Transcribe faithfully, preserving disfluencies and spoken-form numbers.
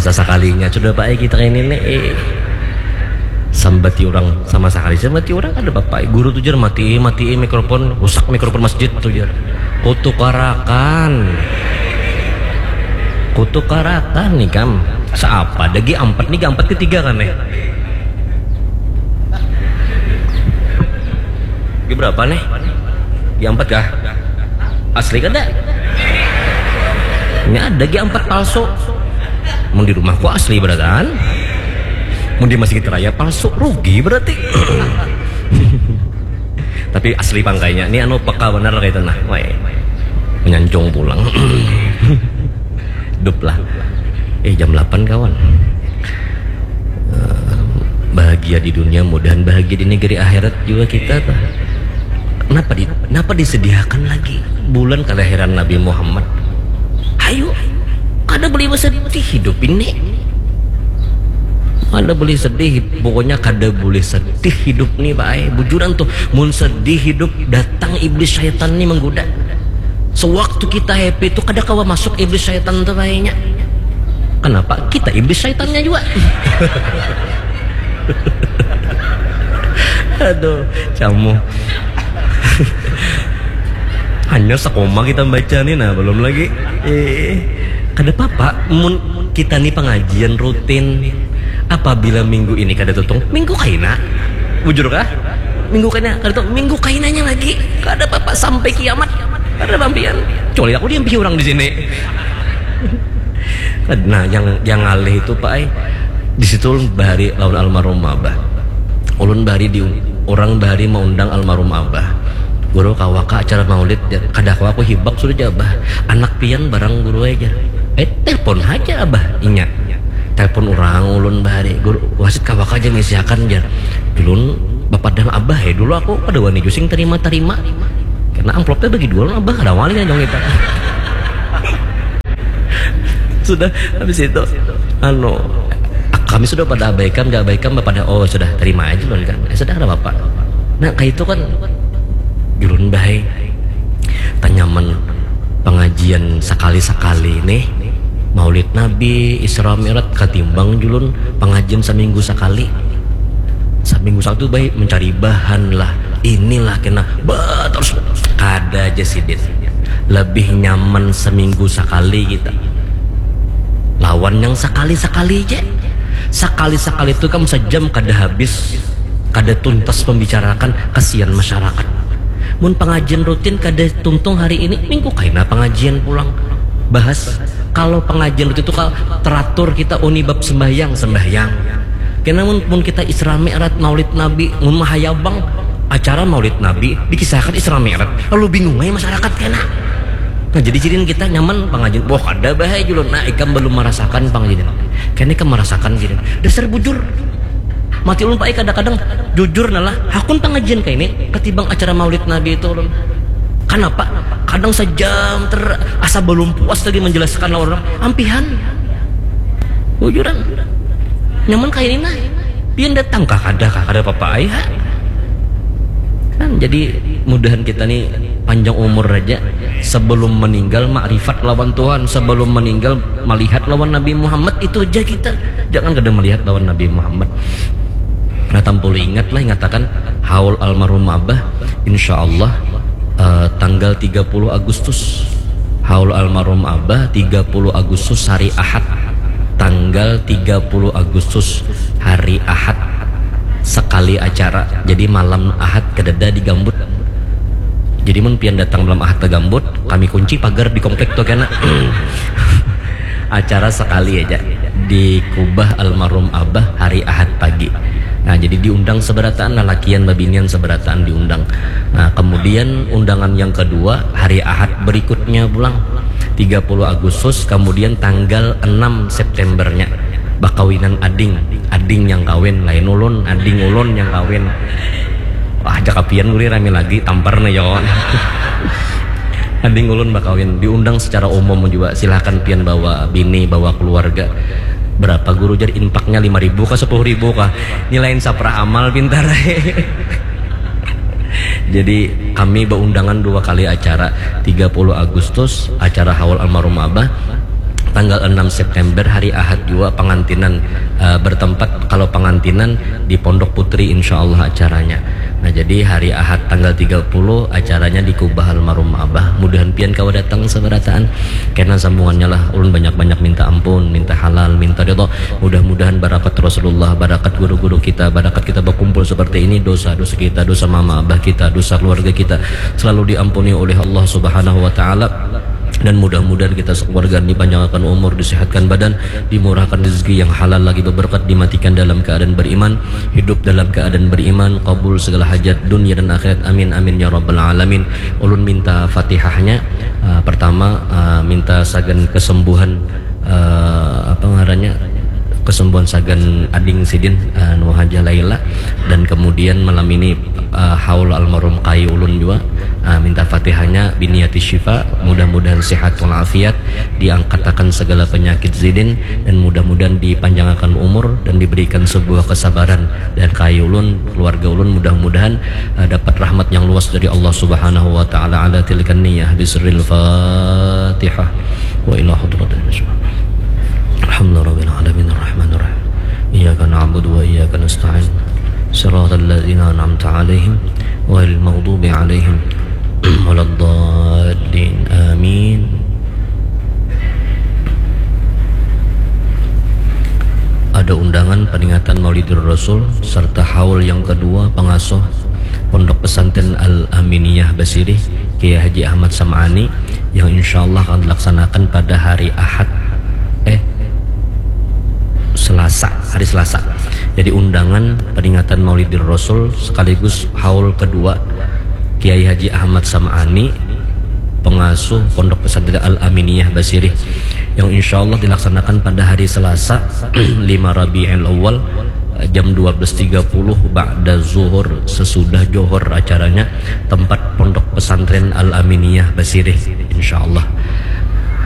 Sasakalinya sudah, Pak, eh, kita ini nih, eh. Sambati orang sama sakali, sambati orang ada, Bapak. Guru tuh jar, mati, mati mikrofon, rusak mikrofon masjid tuh jar. Kutukarakan. Kutukarakan nih kam. Siapa ada G empat nih, G empat ketiga kan, eh? G berapa nih? G empat kah? Asli kada? Ini ada G empat palsu. Mun di rumahku asli beratan. Mun di Masjid Raya palsu, rugi berarti. Tapi asli pangkainya. Ini anu peka benar kayak itu nah. Wah, menyanjung pulang. Hidup lah. Eh, jam delapan, kawan. Eh, bahagia di dunia, mudahan bahagia di negeri akhirat juga kita tuh. Kenapa di, kenapa disediakan lagi bulan kelahiran Nabi Muhammad? Ayo, kada boleh bersedih hidup ini. Kada boleh sedih, pokoknya kada boleh sedih hidup nih, Pak. Bujuran tuh, mun sedih hidup, datang iblis syaitan nih menggoda. Sewaktu kita happy tuh, kada kawa masuk iblis syaitan tuh kayaknya. Kenapa? Kita iblis syaitannya juga. Aduh, camu. Hanya sekoma kita baca nih, nah, belum lagi. Eh, kada apa-apa. Mun kita nih pengajian rutin, apabila minggu ini kada tutung, minggu kaina. Bujur kah? Minggu kaina, kada tuh, minggu kainanya lagi. Kada apa-apa, sampai kiamat. Kada bampian. Kecuali aku diampihi orang di sini. Nah, yang, yang ngalih itu, Pak, eh, di situ ulun bahari lawan almarhum Abah. Ulun bahari di, orang bahari maundang almarhum Abah. "Guru, kawa kah acara maulid?" Jar. "Kada kawa, aku hibak sudah," jar Abah. "Anak pian barang guru aja." Eh, telepon aja Abah, inya. Telepon orang ulun bahari, "Guru, wasit kawa kah aja ngisiakan," jar. Ulun bapadah Abah, eh, dulu aku kada wani jua sing terima-terima. Karena amplopnya bagi dua, Abah kada wani kan dong kita. Sudah, habis itu, anu, kami sudah pada abaikan, gak abaikan, pada, "Oh, sudah, terima aja, Lun, kan." Ya sudah, ada apa-apa. Nah, kayak itu kan, ulun bahai, tanyaman pengajian sekali-sekali nih, Maulid Nabi, Isra Mi'raj, katimbang julun pengajian seminggu sekali. Seminggu satu baik mencari bahan lah, inilah kena, bah, terus kada aja sidin. Lebih nyaman seminggu sekali kita lawan yang sekali-sekali aja. Sekali-sekali itu kan sejam kada habis, kada tuntas membicarakan kasihan masyarakat. Mun pengajian rutin kada tuntung hari ini, minggu kaina pengajian pulang. Bahas kalau pengajian rutin itu kalau teratur kita uni bab sembahyang, sembahyang. Kena mun, mun kita Isra Mi'raj, Maulid Nabi, mun mahayabang acara Maulid Nabi dikisahkan Isra Mi'raj, lalu bingung aja masyarakat kena. Nah, jadi sidin kita nyaman pengajian. Wah, ada bahaya julun. Nah, ikam belum merasakan pengajian. Kena ikam merasakan sidin. Dasar bujur. Mati ulun, Pak, eh, kadang-kadang jujur nah lah, hakun pengajian kayak ini ketimbang acara Maulid Nabi itu ulun. Kenapa? Kadang sejam ter asa belum puas lagi menjelaskan lawan orang. Ampihan. Bujuran. Nyaman kayak ini nah. Pian datang kah, kada kah, kada apa-apa ai ha. Kan jadi mudahan kita nih panjang umur aja, sebelum meninggal makrifat lawan Tuhan, sebelum meninggal melihat lawan Nabi Muhammad, itu aja kita. Jangan kada melihat lawan Nabi Muhammad. Nah, tampulu ingat lah, ingatakan haul almarhum Abah, insya Allah, eh, tanggal tiga puluh Agustus. Haul almarhum Abah tiga puluh Agustus, hari Ahad. Tanggal tiga puluh Agustus, hari Ahad. Sekali acara. Jadi malam Ahad kadada di Gambut. Jadi mun pian datang malam Ahad ke Gambut, kami kunci pagar di komplek tu kena. Acara sekali aja di kubah almarhum Abah hari Ahad pagi. Nah, jadi diundang seberataan, lalakian babinian seberataan diundang. Nah, kemudian undangan yang kedua hari Ahad berikutnya pulang, tiga puluh Agustus, kemudian tanggal enam Septembernya bakawinan ading. Ading yang kawin, lain ulun, ading ulun yang kawin. Wah, jaka pian guri rami lagi, tampar nih, yo. Ading ulun bakawin, diundang secara umum juga. Silahkan pian bawa bini, bawa keluarga. Berapa guru jar infaknya, lima ribu kah, sepuluh ribu kah? Ini lain saprah amal, pintar. Jadi kami beundangan dua kali acara, tiga puluh Agustus acara haul almarhum Abah, Tanggal enam September hari Ahad jua pangantinan, eh, bertempat. Kalau pangantinan di Pondok Putri, insya Allah acaranya. Nah, jadi hari Ahad tanggal tiga puluh acaranya di kubah almarhum Abah. Mudahan pian kawa datang sabarataan. Kena sambungannya lah, ulun banyak-banyak minta ampun, minta halal, minta ridho. Mudah-mudahan barakat Rasulullah, barakat guru-guru kita, barakat kita berkumpul seperti ini, dosa-dosa kita, dosa mama abah kita, dosa keluarga kita selalu diampuni oleh Allah Subhanahu wa Ta'ala. Dan mudah-mudahan kita sekeluarga dipanjangkan umur, disehatkan badan, dimurahkan rezeki yang halal lagi berberkat, dimatikan dalam keadaan beriman, hidup dalam keadaan beriman, kabul segala hajat dunia dan akhirat. Amin, amin, ya rabbal alamin. Ulun minta fatihahnya, eh, pertama, eh, minta sagan kesembuhan, eh, apa ngarannya, kesembuhan sagan ading sidin, eh, Nuhajah Laila, dan kemudian malam ini, eh, haul almarhum kayu ulun jua, eh, minta fatihahnya biniati syifa, mudah-mudahan sehat walafiat, diangkatakan segala penyakit sidin, dan mudah-mudahan dipanjangakan umur dan diberikan sebuah kesabaran, dan kayu ulun, keluarga ulun, mudah-mudahan, eh, dapat rahmat yang luas dari Allah Subhanahu wa Ta'ala. Ala tilkan niyah bisirril Fatihah. Wa ila hadratin. Alhamdulillahirabbil alamin, arrahmanirrahim. Iyyaka na'budu wa iyyaka nasta'in. Siratal ladzina an'amta 'alaihim ghairil maghdubi 'alaihim waladdallin. Amin. Ada undangan peringatan Maulidur Rasul serta haul yang kedua pengasuh Pondok Pesantren Al-Aminiyah Basirih, Kiai Haji Ahmad Sam'ani, yang insya Allah akan dilaksanakan pada hari Ahad, eh, Selasa, hari Selasa. Jadi undangan peringatan Maulidur Rasul sekaligus haul kedua Kiai Haji Ahmad Sam'ani, pengasuh Pondok Pesantren Al-Aminiyah Basirih, yang insya Allah dilaksanakan pada hari Selasa, lima Rabiul Awal, jam dua belas tiga puluh ba'da zuhur, sesudah johor acaranya, tempat Pondok Pesantren Al-Aminiyah Basirih, insya Allah.